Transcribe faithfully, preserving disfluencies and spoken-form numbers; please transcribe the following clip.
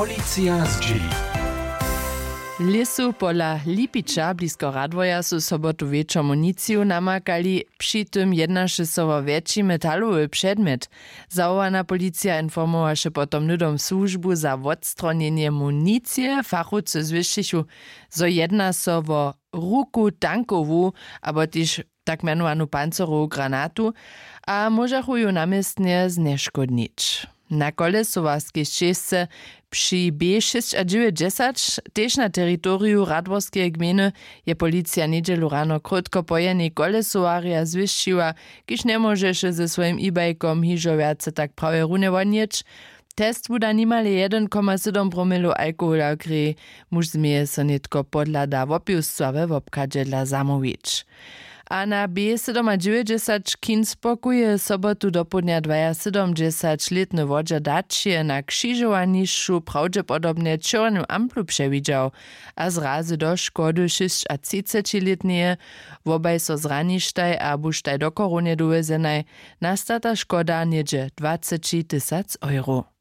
Policija zdźěli. W lěsu pola Lipića blisko Radworja su sobotu wječor municiju namakali. Při tym jednaše so wo wjetši metalowy předmjet. Zawołana policija informowaše potom hnydom słužbu za wotstronjenje municije. Fachowcy zwěsćichu, zo jedna so wo ruku tankowu abo tež tak mjenowanu pancerowu granatu a móžachu ju na městnje znješkódnić. Na kolesowarskej šćěsce při b šěsćadźewjećdźesać tež na teritoriju radworskeje gmejny je policija njedźelu rano krótko po jenej kolesowarja zwěsćiła, kiž njemóžeše ze swojim e-bajkom hižo wjace tak prawje runje wonjeć. Test wuda nimale jedyn koma sydom promilow alkohola w kreji. Muž změje so nětko podhlada wopěwstwa we wobchadźe dla zamołwić. A na b sydomadźewjećdźesać kinspoku je sobotu dopołdnja dwajasydomdźesaćlětny wodźa daćije na křižowanišću prawdźepodobnje čěrnu amplu přewidźał a zrazy do škody šěsćatřicećilětneje, wobaj so zraništaj a buštaj do chorownje dowjezenaj, nastata škoda něhdźe dwaceći tysac euro.